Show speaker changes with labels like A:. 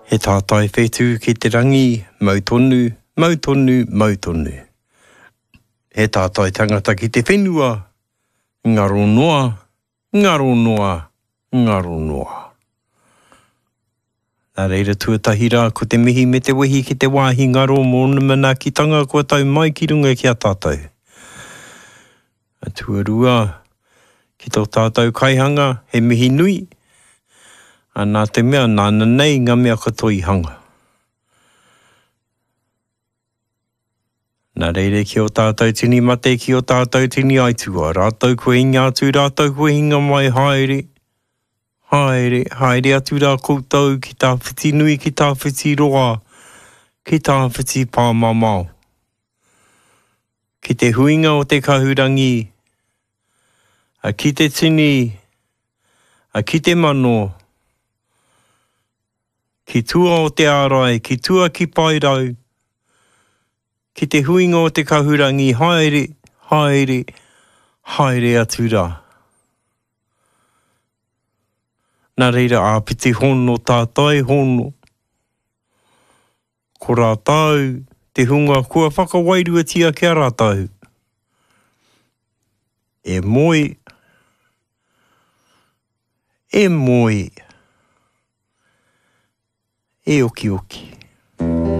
A: He tātai whetū ki te rangi, mau tonu, mau tonu, mau tonu. He tātai tangata ki te whenua, ngaro noa, ngaro noa, ngaro noa. Nā reira tuatahi rā ko te mihi me te wehi ki te wāhi ngaro mō ōna manaakitanga kua tau mai ki runga ki a tātou. Tuarua, ki tō tātou kaihanga, he mihi nui, ā, nā te mea nāna nei ngā mea katoa i hanga. Nā reira ki ō tātou tini mate, ki ō tātou tini aituā, rātou kua hinga atu, rātou kua hinga mai, haere, haere, haere atu rā koutou ki tawhiti nui, ki tawhiti roa, ki tawhiti pāmamao. Ki te huinga o te kahurangi, a ki te tini, a ki te mano, ki tua o te ārai, ki tua ki Paerau, ki te huinga o te kahurangi, haere, haere, haere atu rā. Nā reira āpiti hono tātai hono. Ko rātou te hunga kua whakawairuatia ki a rātou, e moe, e moe, e okioki.